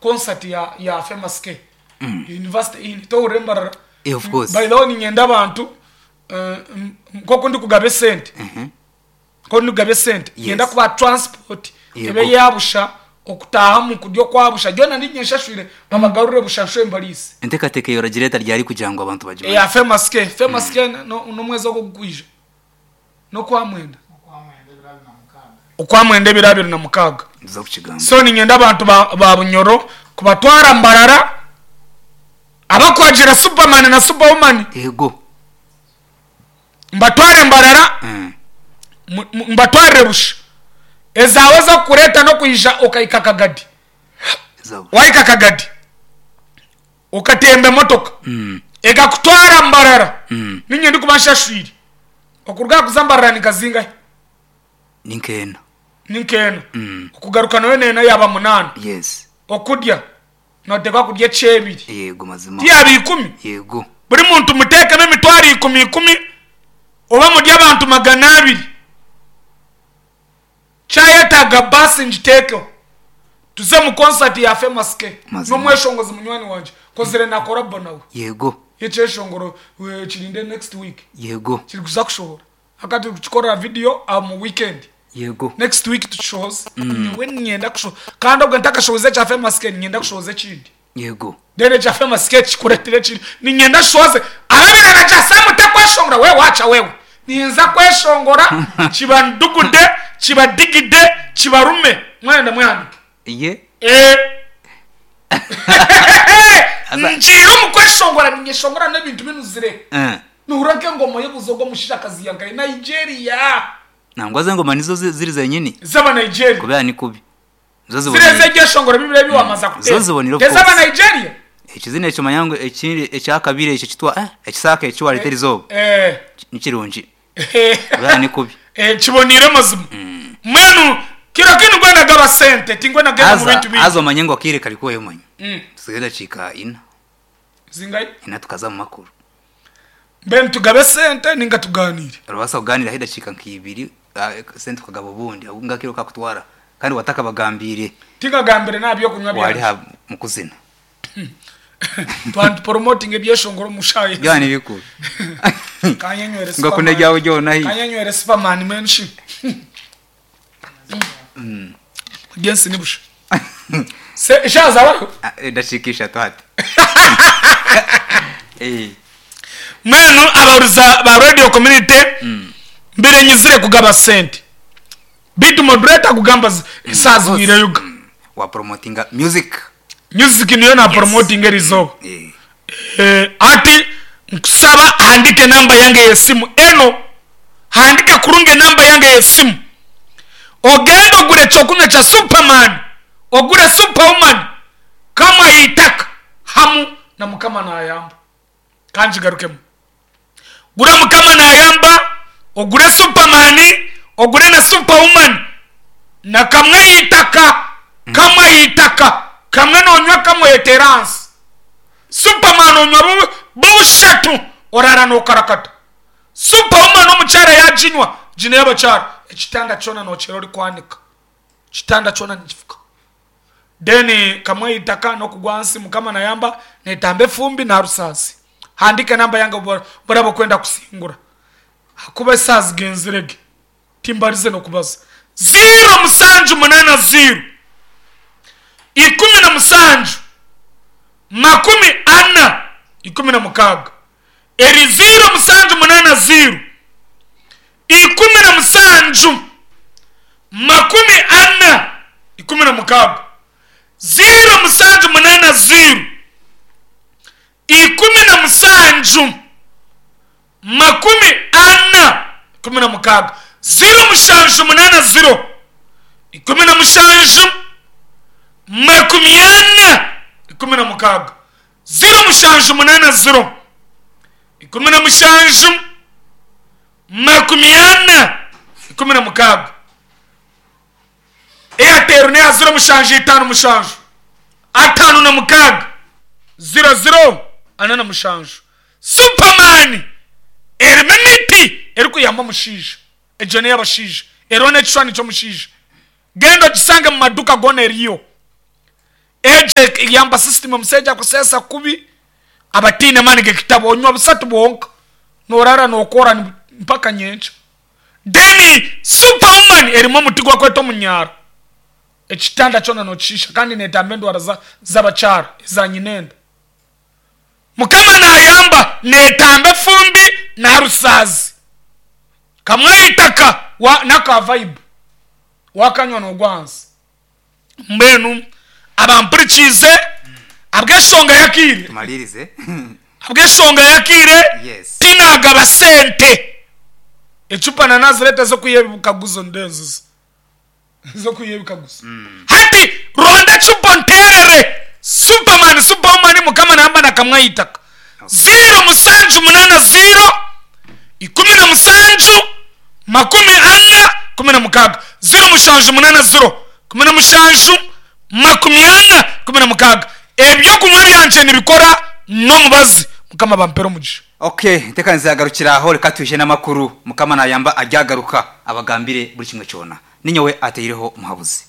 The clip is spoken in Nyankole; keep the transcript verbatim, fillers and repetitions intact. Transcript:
Concert ya ya Famous K University Inn tohurira Mbarara. Eh, of course. By the way, niinyenda abantu eh, m- nk'oku ndikugaba esente, nk'oku ndikugaba esente, Yes. niinyenda kubaha transport Yego. ebe eya busha, okutaahamu kurya okwabusha, byona niinye nshashwire, babagarure busha nshobe mbariise. Enteekateeka eyo oragireeta ryari kugira ngu abantu bagimanye? Eya Famous K, Famous K no- n'omwezi ogu ogukwija n'okwamwenda, okwamwenda ebiro abiri na mukaaga. Nituza kukigamba. So niinyenda abantu ba, ba Bunyoro kubatwara Mbarara, abakwagira Superman na Superwoman. Yego. Mbatware Mbarara, Mm. mu- mu- mbatwarire busha, ezaawe zokureeta n'okwija okahika Kagadi. Zabo. Wahika Kagadi okatemba emotoka Mm. ekakutwara Mbarara. Mm. Ninye ndikuba nshashwire. Okuruga kuza Mbarara nikazingahe? Ni nkeena. Ninkeena. Mm. Okugaruka nayo neena, yaba munaana. Yes. Okurya notekwa kurya ekyebiri. Yego, mazima. Tiyaba ikumi? Yego. Buri muntu muteekemu emitwaro ikumi ikumi, oba muri abantu magana abiri. Kyayetaaga baasi ngiteekeho, tuze mu concert ya Famous K. Mazima. N'omweshongozi munywani wanje kozire na collabo nawe. Yego. Ekyeshongoro eh, kirinde next week. Yego. Kiri kuza kushohora akati tukikorera video ah, mu weekend. Yego. Next week tukishohoze. Nyowe ninyenda kusho, kandi obwo ntakashohoze ekya Famous K, ninyenda kushohoza ekindi. Yego. Then ekya Famous K kikuretire ekindi, ninyenda shoze ababirana kya Samu takweshongora we wacha wewe, ninza kweshongora kibandugude, kibadigide, kibarume, mwenda mwehanike. Ye. Eh. Aza- Ngiire omu kweshongora, ninyeshongora n'ebintu binuzire. Eh. Nuhura nk'engoma y'obuzogo omushishakazi yankaye Nigeria. Nangwa zengoma nizo zi- ziri zenyini. Z'aba Nigeria. Kubera ni kubi nizo Zire zibonire. z'ebyeshongoro bibiri ebi wamaza Zo zibonire, of kutera course. ez'aba Nigeria. Ekizina ekyo manyangu ekindi ekyakabiri ekyo kitwa eh, ekisaaka eki wareetera izooba. Eh. Nikirungi kubera ni kubi. Eh, kibonire mazima. Mwenu kiro kinu gwena gaba sente, tingwena genda mu Aza bintu bingi. aza omanye ngu akaire kari kuweyo omanye. Mm. Tusigaye dakiika ina. Zingai? Ina, tukaza mu makuru. Mbenu tugabe sente ninga tuganire? Orabaasa kuganiraho edakiika nk'ibiri, ah, sente tukagaba obundi ngakiro kakutwara kandi watakabagambire. Tingagambire nabyokunywa Wari byange. ha mu kuzina. Twantu promoting ebyeshongoro mushaye. Byaba ni bikuru. Kanyenywere. Ngakunda ryawe ryona hi. Kanyenywere Superman menshi gensi nibusha se shazabaho. Ah, edakiika ishatu hati. Eh, Mwenu abahuriza ba radio community, mbere nyizire kugaba sente, bitu moderator kugamba saa zibwire yuga. Wa promotinga music. Music niyo na promoting erizoba. Eh, Eh, ati nkusaba handike namba yange yesimu eno, handika kurungi namba yange yesimu, ogende ogure kyokunywa kya Superman, ogure Superwoman kama yitaka hamu na Mukama nayamba. Kanjigarukemu: gura Mukama nayamba, ogure Superman, ogure na Superwoman na kamwe yitaka, kamwe yitaka, kamwe nonywa kamwe yeteransi. Superman onywa bu- bushatu orara nokarakata. Superwoman omukyara yaginywa gino y'abakyara, ekitanda kyona nokyera ori kwanika, kitanda kyona nikifuka. Then kamwe itaka nokugwa nsi. Mukama nayamba netamba efumbi narusaasi. Handike namba yange burabo kwenda kusingura, hakuba esaha zigenzirege timbarize nokubaza. Ziro musanju munana ziro ikumi na musanju makumi ana ikumi na mukaaga. Eri ziro musanju munana ziro ikumi na musanju makumi ana ikumi na mukaaga, ziro musanju munana ziro ikumi na musanju makumi ana ikumi na mukaaga, ziro mushanju munana ziro ikumi na mushanju makumi ana ikumi na mukaaga, ziro mushanju munana ziro ikumi na mushanju makumi ana ikumi na mukaaga. Airtel neya ziro mushanju itano mushanju atano na mukaaga ziro ziro ana na mushanju. Superman erimu emiti erikuyamba omushaija, egyo ney'abashaija, eriho n'ekishwani ky'omushaija. Genda ogisange mu maduka gona eriyo. Egyo eyamba system omushaija akuseesa kubi aba ataine maani g'ekitabo onywa busatu bwonka noorara nookora mpaka nyenkya. Then super woman erimu omuti ogu barikweta omunyaaro ekitanda kyona nookishiisha kandi neetamba endwara z'abakyara eza nyinenda. Mukama naayamba neetamba efumbi na rusaazi kamwe aha itaka n'aka vibe waakanywa noogwa ahansi. Mbwenu abampurikiize ahabw'enshonga y'akaire, Tumariirize. ahabw'enshonga y'akaire Yes. tinaagaba sente. Ecupa na nazireeta ez'okwiha ebikaguzo ndeeziza ez'okwiha ebikaguzo. Hati ronda ecupa onteerere Superman, Superwoman, Mukama nayamba na kamwe aha itaka. Ziiro mushanju munaana ziiro ikumi na mushanju makumi ana kumi na mukaaga. Ziiro mushanju munaana ziro kumi na mushanju makumi ana kumi na mukaaga. Eby'okunywa byangye nibikora n'omubazi. Mukama abampere omugisha. Okay, enteekaniza yagarukira aho, reka twije n'amakuru. Mukama naayamba aryagaruka abagambire buri kimwe kyona. Ninyowe ataireho Muhabuzi.